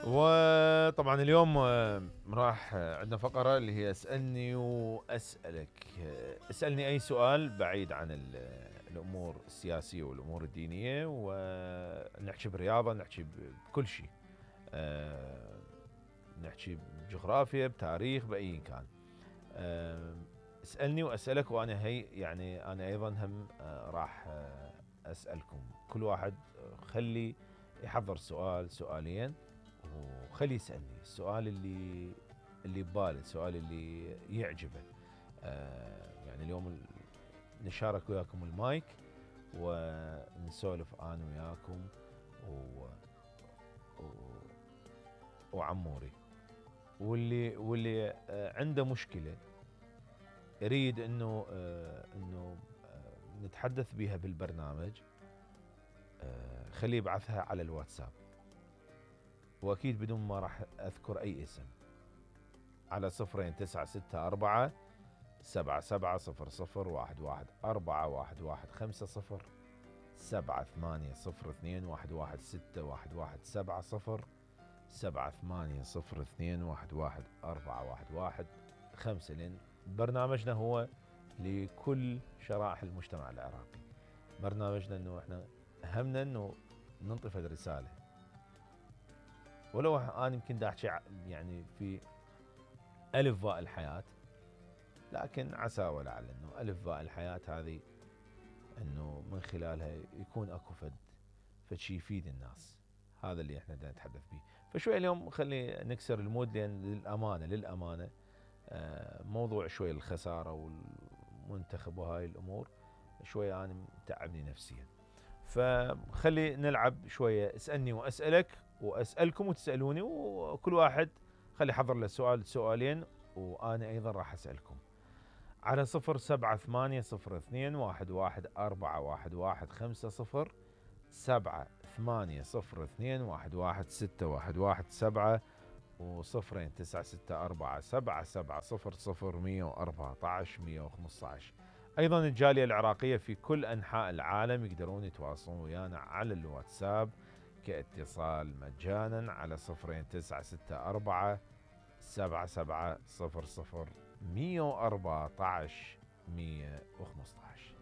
وطبعا اليوم راح عندنا فقرة اللي هي اسألني وأسألك. اسألني أي سؤال بعيد عن الأمور السياسية والأمور الدينية، ونحكي برياضة، نحكي بكل شيء، نحكي بجغرافيا، بتاريخ، بأي كان. اسألني وأسألك، وأنا يعني أنا أيضا هم راح أسألكم. كل واحد خلي يحضر سؤال سؤالين، وخلي يسألني السؤال اللي بباله، السؤال اللي يعجبه. يعني اليوم نشارك وياكم المايك ونسولف أنا وياكم وعموري. واللي عنده مشكلة يريد انه نتحدث بها بالبرنامج، خليه يبعثها على الواتساب، واكيد بدون ما راح اذكر اي اسم، على 0964 7700 11 7802 116 7802 لأن برنامجنا هو لكل شرائح المجتمع العراقي. برنامجنا انه احنا همنا انه ننطي فد رسالة، ولو انا يمكن دا احكي يعني في الف باء الحياة، لكن عسى ولعل انه الف باء الحياة هذه انه من خلالها يكون اكو فد شيء يفيد الناس. هذا اللي احنا دا نتحدث به. فشوي اليوم خلي نكسر المود، لان للامانه موضوع شوي الخساره والمنتخب وهاي الامور شوي انا متعبني نفسيا. فخلي نلعب شويه اسالني واسالك، واسالكم وتسالوني، وكل واحد خلي يحضر له سؤال سؤالين، وانا ايضا راح اسالكم على 0780 11 415 7802 116 و0964 7700 114 115. ايضا الجاليه العراقيه في كل انحاء العالم يقدرون يتواصلون ويانا على الواتساب كاتصال مجانا على 0964 7700 114 115.